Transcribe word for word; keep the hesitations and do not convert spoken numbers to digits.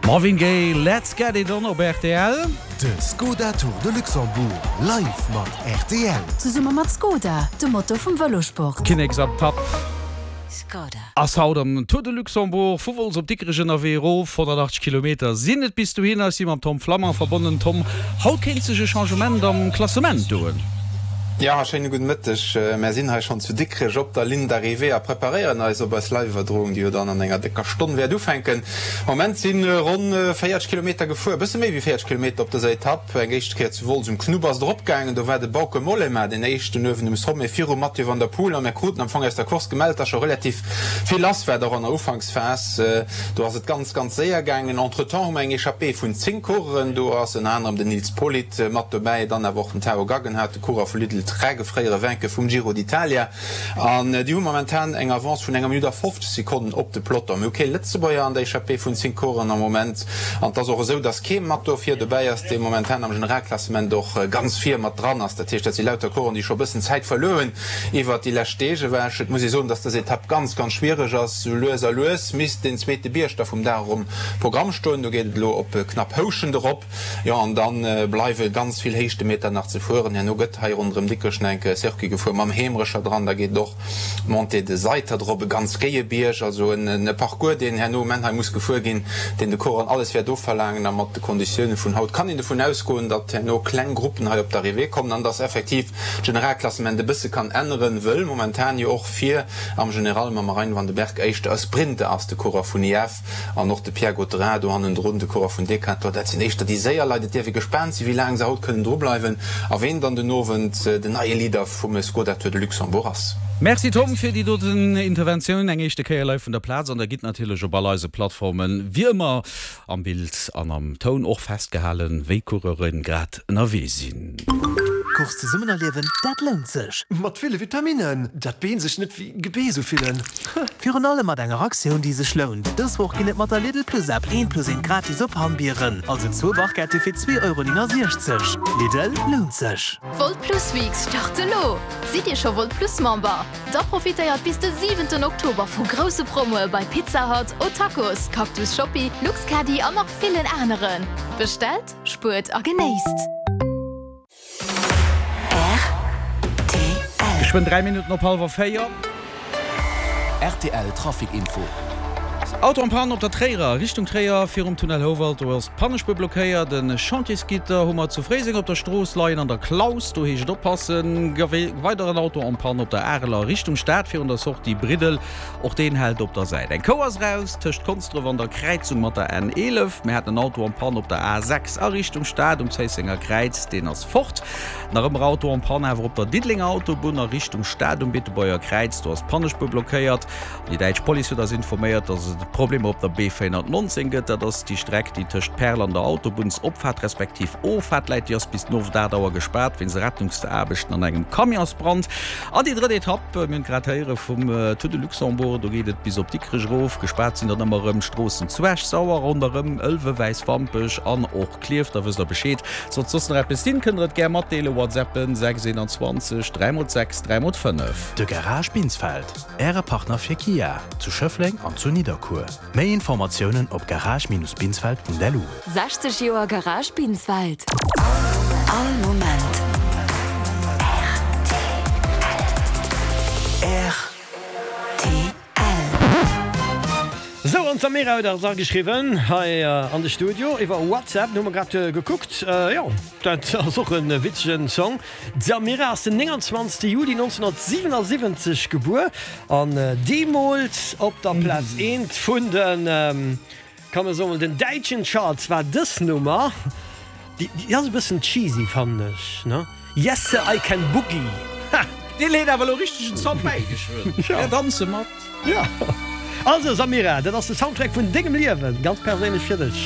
Marvin Gaye, Let's Get It On op rtl. De Skoda Tour de Luxembourg live mat rtl. Zesumme mat Skoda, dem Motor vum Vëlosport. Kinneksetapp Skoda. Ass haut am Tour de Luxembourg vu Wolz op Dikrech ënnerwee erof. honnertachtzeg Kilometer sinn et bis dohinner. Ech si mam Tom Flammang verbonnen. Tom, haut kéint sech e Changement am Klassement doen. Jo, schéine gudde Mëtteg. Mär sinn hei schonn zu Dikrech op der Ligne d'arrivée a preparéieren eis op eis Live-Iwwerdroung, déi jo dann an enger décker Stonn wäert ufänken. Am Moment si ronn véierzeg Kilometer gefuer, e bësse méi wéi véierzeg Kilometer op dëser Etapp. Eng éischt Kéier zu Wolz um Knupp ass et eropgaangen, do war de Bauke Mollema deen éischten uewen um Sommet virum Mathieu van der Poel a mär kruten am Fong aus der Course gemellt, dass scho relativ vill lass war, och an der Ufanksphas. Do ass et ganz, ganz séier gaangen. Entretemps hu mer eng Echappée vun zéng Coureuren, do ass ënner anerem den Nils Politt mat dobäi, dann awer och den Tao Gaggenhardt, de Coureur vu Lidl Trek, e fréiere Vainqueur vum Giro d'Italia, an déi hu momentan eng Avance vun enger Minutt a fofzeg Sekonnen op de Peloton. Mir hu kee Lëtzebuerger an der Echappée vun zéng Coureuren am Moment, an et ass och esou, datt kee mat do vir dobäi ass, dee momentan am Generalklassement och ganz vir mat dran ass. Dat heescht, dat si lauter Coureuren, déi scho e bëssen Zäit verluer hunn iwwert déi lescht Deeg ewech. Et muss ee soen, datt dës Etapp ganz, ganz schwiereg ass. Sou lues a lues misst deen zweete Bierg da vum Dag och um Programm stoen. Do geet et elo op knapp Houschent erop. Jo, an da bleiwe ganz vill Héichtemeter nach ze fueren. Herno gëtt hei ronderëm Dikrech nach eng Kéier Circuit gefuer mam Heemrecher dran. Da geet et och d'Montée de Seitert erop, e ganz géie Bierg, also en Parcours, deen herno um Enn hei muss gefuer ginn, deen de Coureuren alles wäert ofverlaangen. A mat de Konditioune vun haut kann een dovun ausgoen, datt herno kleng Gruppen hei op d'Arrivée kommen an datt effektiv d'Generalklassement e bësse kann änneren, wëll momentan jo och vir am General mam Marijn van den Berg éischter e Sprinter ass, de Coureur vun I F. An och de Pierre Gautherin do hannendrun, de Coureur vun Decathlon, dat sinn éischter déi séier Leit. Et dierf ee gespaant sinn, wéi laang se haut kënnen drubleiwen a ween dann den Owend den neie Leader vum Skoda Tour de Luxembourg ass. Merci Tom fir déi doten Interventioun, eng éischte Kéier live vun der Plaz. An der gitt natierlech op all eise Plattformen, wéi ëmmer am Bild an am Toun och festgehalen, wéi d'Coureure grad ënnerwee sinn. Course zesummen erliewen, dat lount sech. Mat ville Vitaminnen, dat d'Been sech net wéi Gebeess ufillen. Virun allem mat enger Aktioun, déi sech lount. Dës Woch ginn et mat der Lidl Plus App eent plus eent gratis op Hammbieren, also zwou Barquette fir zwee Euro néngasiechzeg. Lidl, lount sech! D'Wolt Plus Weeks start elo! Sidd Dir scho Wolt Plus Member? Da profitéiert bis de siwenten Oktober vu grousse Promoe bei Pizza Hut, O'Tacos, Cactus Shoppi, Luxcaddy an nach villen aneren. Bestellt, spuert a genéisst! R T L. Geschwënn dräi Minutten op hallwer véier. R T L Trafic Info. Auto en panne op der Tréierer, Richtung Tréier, virum Tunnel Houwald, do ass d'Pannespuer blockéiert. E Chantiersgitter hu mer zu Fréiseng op der Strooss leien an der Klaus, do heescht et oppassen. Weideren Auto en panne op der Areler, Richtung Stad, virun der Sortie Briddel, och deen hält op der Säit. Eng Kou ass raus tëscht Konsdref an der Kräizung mat der N eelef. Mir haten en Auto en panne op der A sechs a Richtung Stad um Zéissenger Kräiz, deen ass fort. Nach ëmmer Auto en panne awer op der Diddelenger Autobunn a Richtung Stad um Beetebuerger Kräiz, do ass d'Pannespuer blockéiert. Déi däitsch Police huet eis informéiert, datt et Problemer op der B véierhonnertnonzéng gëtt. Dat ass déi Streck, déi tëscht Perl an der Autobunnsopfaart respektiv Offaart läit. Déi ass bis den Owend aacht Auer gespaart wéinst Rettungsaarbechten an engem Camionsbrand. An déi drëtt Etapp, mir hunn et grad héiere vum Tour de Luxembourg, do geet et bis op Dikrech erof. Gespaart sinn dann ëmmer erëm d'Stroossen zu Esch-Sauer, ronderëm Ëlwen, Wäiswampech an och Klierf. Da wësst der Bescheed. Sollt soss nach eppes sinn, kënnt der et gär matdeelen. WhatsAppen sechs eenanzwanzeg dräi mol sechs dräi mol fënnef. De Garage Binsfeld, Äre Partner fir Kia, zu Schëffleng an zu Nidderkuer. Méi Informatiounen op garage-binsfeld punkt lu. Sechzeg Joer Garage Binsfeld. All Moment R T L. Sou, an d'Samira huet eis ageschriwwen hei an de Studio iwwer WhatsApp. Hu mer grad gekuckt. Jo, dat ass och e witzegen Song. D'Samira ass den nénganzwanzegste Juli nonzénhunnertsiwenasiwwenzeg gebuer an deemools op der Plaz eent vun den, kann mer soen, den däitschen Charts war dës Nummer. Déi ass e bëssen cheesy, fannen ech, ne? Yes sir, I can boogie! Ha! Deen huet awer elo richteg en Song bäigeschwënn. Mir danze mat. Jo. Also Samira, dat ass de Soundtrack vun dengem Liewen, ganz perséinlech fir dech.